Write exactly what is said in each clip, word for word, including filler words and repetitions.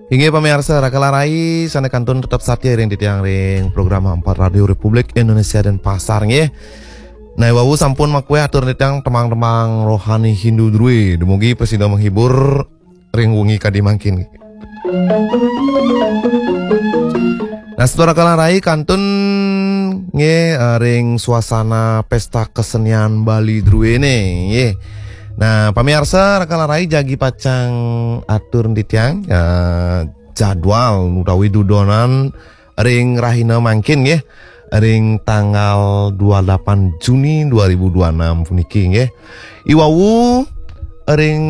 Inggih pamiarsa, raka lan rai sané kantun tetep satia ring titiang ring program Empat Radio Republik Indonesia Denpasar nggih. Nah, wau sampun makuéh atur titiang tembang-tembang rohani Hindu drué. Dumugi prasida menghibur ring wengi kadi mangkin. Nah, semeton raka lan rai kantun nggih, eh, ring suasana pesta kesenian Bali druéné nggih. Nah, pamiarsa raka lan rai jagi pacang atur titiang, eh, jadwal utawi dudonan ring rahina mangkin nggih, ring tanggal dua puluh delapan Juni dua ribu dua puluh enam puniki nggih. Iwau ring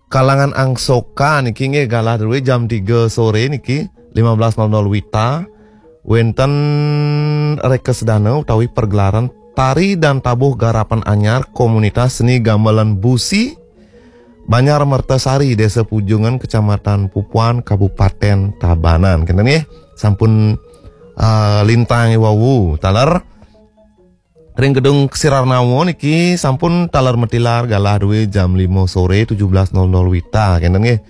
kalangan Angsoka niki nggih galah drué jam tiga sore niki, lima belas nol nol WITA, wénten rekasedana utawi pergelaran tari dan tabuh garapan anyar komunitas seni gamelan busi Banjar Mertasari, Desa Pujungan, Kecamatan Pupuan, Kabupaten Tabanan. Kénten nggih, sampun, eh, lintang wau. Taler ring Gedung Ksirarnawa niki sampun taler matilar galah drué jam lima sore, tujuh belas nol nol WITA. Kénten nggih.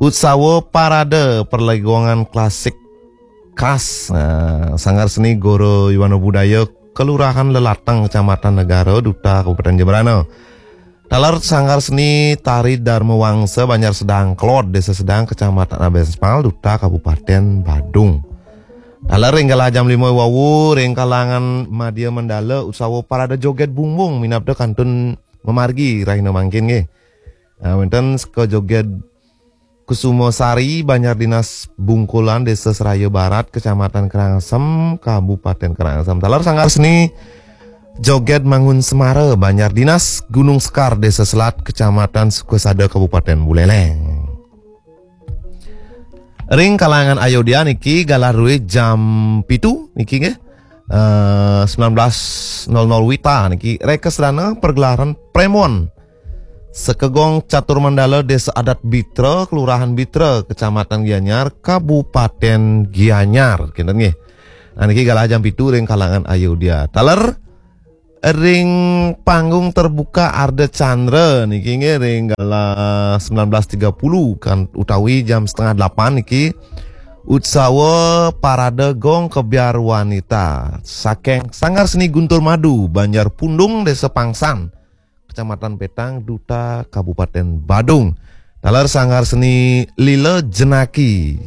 Utsawa Parade Perlegongan Klasik Khas, nah, Sanggar Seni Goro Yuwana Budaya Kelurahan Lelatang, Kecamatan Negara, Duta Kabupaten Jembrana. Taler Sanggar Seni Tari Dharma Wangsa Banjar Sedang Kelod, Desa Sedang, Kecamatan Abespal, Duta Kabupaten Badung. Taler ring galah jam lima wau ring kalangan Madya Mandala Utsawa Parade Joget Bumbung minabda kantun mamargi rahina mangkin nggih. Nah, wénten seka joget Kusuma Sari, Banjar Dinas Bungkulan, Desa Seraya Barat, Kecamatan Karangasem, Kabupaten Karangasem. Taler Sanggar Seni Joget Mangun Semara, Banjar Dinas Gunung Sekar, Desa Selat, Kecamatan Sukasada, Kabupaten Buleleng. Ring kalangan Ayodya niki galah drué jam pitu niki nggih. Eh, sembilan belas nol nol WITA niki rekasedana pergelaran Premon. Sekegong Catur Mandala, Desa Adat Bitra, Kelurahan Bitra, Kecamatan Gianyar, Kabupaten Gianyar. Kénten nggih. Nah, niki galah jam pitu ring kalangan Ayodya. Taler ring panggung terbuka Arda Chandra niki nggih ring galah sembilan belas tiga puluh kan utawi jam setengah delapan niki Utsawa Parade Gong Kebyar Wanita saking Sanggar Seni Guntur Madu, Banjar Pundung, Desa Pangsan, Kecamatan Petang, Duta Kabupaten Badung. Taler Sanggar Seni Lila Jenaki,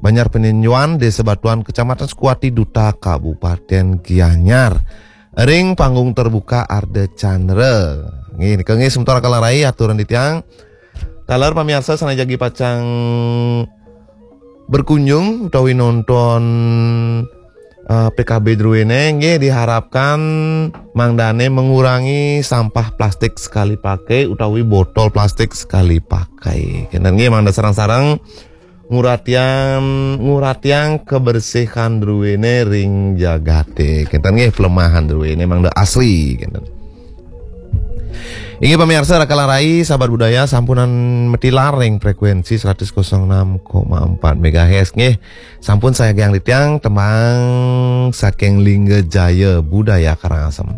Banjar Peninjuan, Desa Batuan, Kecamatan Sukuwati, Duta Kabupaten Gianyar. Ring panggung terbuka Arda Chandra. Nggih, nika nggih semeton raka lan rai aturan titiang. Taler pamiarsa sané jagi pacang berkunjung utawi nonton, eh, P K B druéné nggih diharapkan mangdané mengurangi sampah plastik sekali pakai utawi botol plastik sekali pakai. Kénten nggih mangda sareng-sareng nguratian nguratian kebersihan druéné ring jagaté. Kénten nggih pelemahan druéné mangda asri kénten. Inggih pamiarsa raka lan rai sahabat budaya sampunang matilar ring frekuensi seratus kosong enam koma empat megahertz nggih. Sampun sagiang titiang tembang saking Lingga Jaya Budaya Karangasem.